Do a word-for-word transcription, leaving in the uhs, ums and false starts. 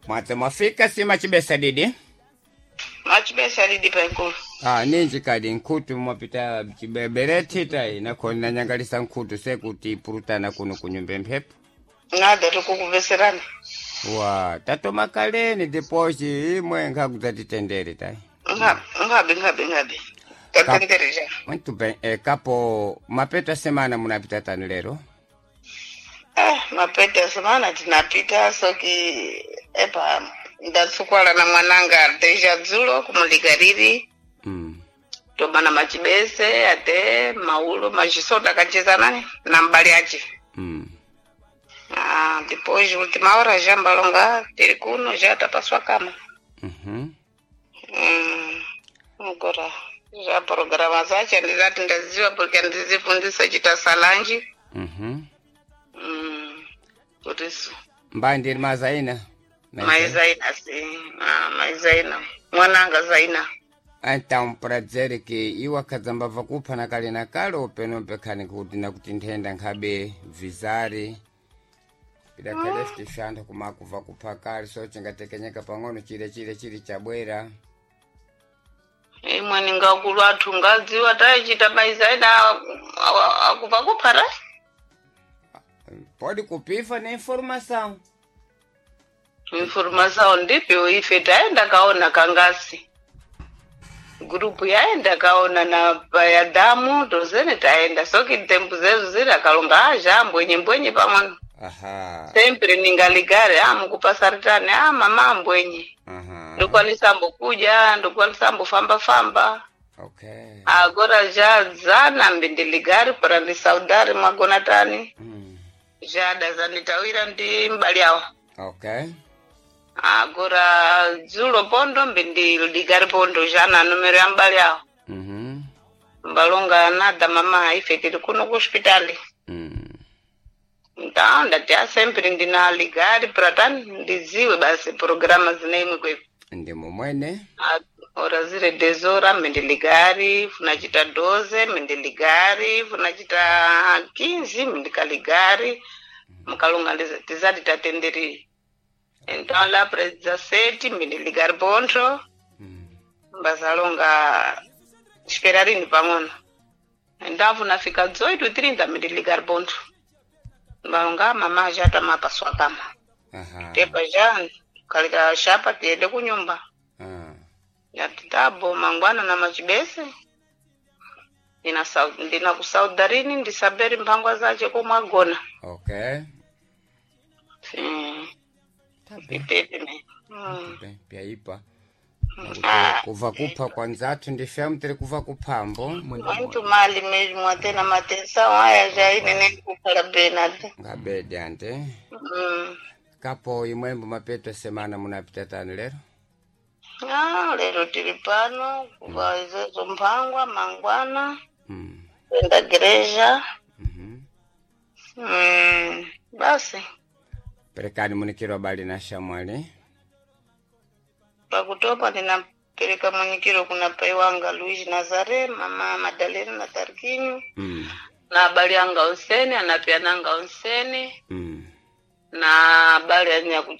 Mwadze mwafika sima chibesa didi. Machibesa didi paikulu. Ah, ninji kadi nkhutu mwapita chibebereti tai nakhona nyangalisa nkhutu sekuti ipurutana kuno kunyumba mphepo. Nada tukukuveserana. Wa tatoma kaleni deposi imwe nkhakuzatitendere tai. Ngabe ngabe ngabe ngabe. Tatendereja. Muito bem, eh, kapo mapeta semana munapita tani lero? Eh, mapeta semana tinapita soki epa ndatsukwala na mwananga deja dzulo kumuligariri Mm. tomana machibese ate maulo machisoda kacheza nani na mbali ache. Mm. Ah, depois última hora já mbalonga tiri kuno já tapaswa kama. Mhm. Mm, agora já programa zacho andizati ndaziwa porque andizifundisa chita salanji. Mhm. Mm, por isso Mbandi mazaina. mai zaina sim, ah, mai zaina mwananga zaina. Então, para dizer que iwo akhadzamba vakupha na kale na kale upenope khani kuti nakuti nthenda nkhabe vizari pidakhale fitixantha kumakuva kupha kale so cingatekenyeka pang'ono chile chile chili chabwera. Imwe ningakulu athu ngadziwa taichita mai zaina akupa kuphara. Pode kupifa na informação. Informação ndipyo ife taenda kaona kangasi grupu yaenda kaona na ya damu tozene taenda soki tempu zetu ziri akalonga aja mbwenye mbwenye pamwe. Aha. Sempre ningaligare ah mukupasaritane ah mama mbwenye. Aha. Ndokwanisa kuja ndokwanisa famba famba. Okay. Agora já zana mbindiligari para ndisaudare mwagona tani. Mm. Já zanitawira ndi mbali awo. Okay. Agora dzulo pondo mbindiligari pondo já na numero ya mbali awo. Mhm. Mbalonga nada mama ife tiri kuno ku hospitali. Mm. Então ndati a sempre ndina ligari para tani ndiziwe basi programa zinaimwe kweku. Ndi mumwene. Ora zire dezora mendiligari funachita doze mendiligari funachita quinze mendikaligari mukalonga ndiza- tizati tatenderi. Então lá para dezessete mendiligari pontho. Mm. Mbazalonga esperarini pang'ono. Então funafika dezoito e trinta mendiligari pontho. Mbalonga mama já tamapaswa kama. Aha. Tepa já kalika shapa tiende kunyumba. Ah. Yatitabo mangwana na machibese ndina sau- ndina kusaudarini ndisaberi mphangwa zache komwagona. Okay. Sim, Tá bem. itete ne. Mm. Bem, pyaipa. Ah, Kuva kupha kwanzathu ndifyamu tiri kuva kuphambo. muito mali mesmo até na matenção aya já ine kukhala bem ate. Ngabede ante. Mm. Kapo imwembo mapeto semana munapita tani lero? Ah, lero tiri pano kuva izezo mphangwa mangwana Mm. kwenda gereja. Mhm. Mm. Basi Perekani munikiro bali na shamwali. pakutopa ndinapereka munyikiro kuna pai wanga Luiz Nazare, mama Madalena na Tarquinho Mm. na abali anga onsene anapiananga onsene Mm. na abali anyaku